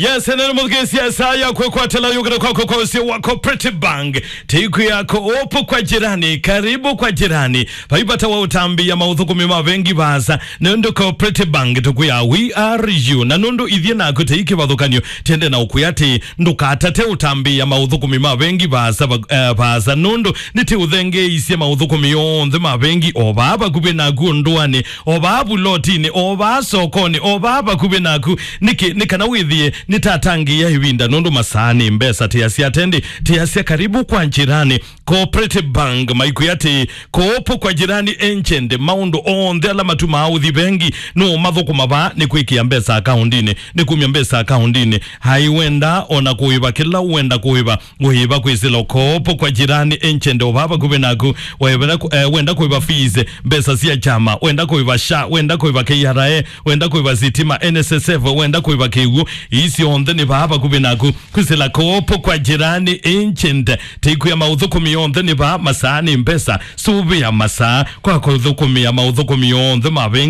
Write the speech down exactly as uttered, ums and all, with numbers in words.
Yes, enene mũthukĩĩsya saa ya kwĩkwatĩla yũkĩte kwakwa kwa ũsio wa Cooperative Bank. Tĩikwĩa Coop kwa jirani, karibu kwa jirani. Vai vata wa ũtambĩĩa maũthũkũmi ma vengi vaasa, nũndũ Cooperative Bank tũkwĩa we are you. Na nũndũ ithyĩ naku tĩi kĩvathũkany'o, tĩende na ũkwĩa atĩ ndũkatate ũtambĩĩa maũthũkũmi ma vengi vaasa, va-, eh, vaasa, nũndũ nĩtĩũthengeeisye maũthũkũmi onthe ma vengi o vaa vakuvĩ naku, o ndũanĩ, o vaa vulotinĩ, o vaa sokonĩ, o vaa vakuvĩ naku. Nĩkĩ? Nĩ kana wĩthĩe nĩtatangĩĩa ĩvinda, nũndũ masaa nĩ mbesa. Tĩasya atendi, tĩasya karibu kwa jirani. Cooperative Bank maikwĩa atĩ Coop kwa jirani agent, maũndũ onthe ala matumaa ũthi vengi, nũũmathũkũma vaa nĩ kwĩkĩa mbesa akaundinĩ, nĩ kumya mbesa akaundinĩ. Hai wenda ona kũĩva kĩla wenda kũĩva, ũĩva kwĩsĩla Coop kwa jirani agent o vaa vakuvĩ naku. Wenda ku-, eh, wenda kũĩva fees, mbesa sya kyama, wenda kũĩva SHA, wenda kũĩva K R A, wenda kũĩva sitima, N S S F, wenda kũĩva kĩw'ũ, ii syonthe nĩ vaa vakuvĩ naku. Kwĩsĩla Coop kwa jirani agent, tĩikwĩa maũthũkũmi onthe nĩ vaa, masaa nĩ mbesa. Sũvĩa masaa kwa kũthũkũmĩa maũthũkũmi onthe ma vengi.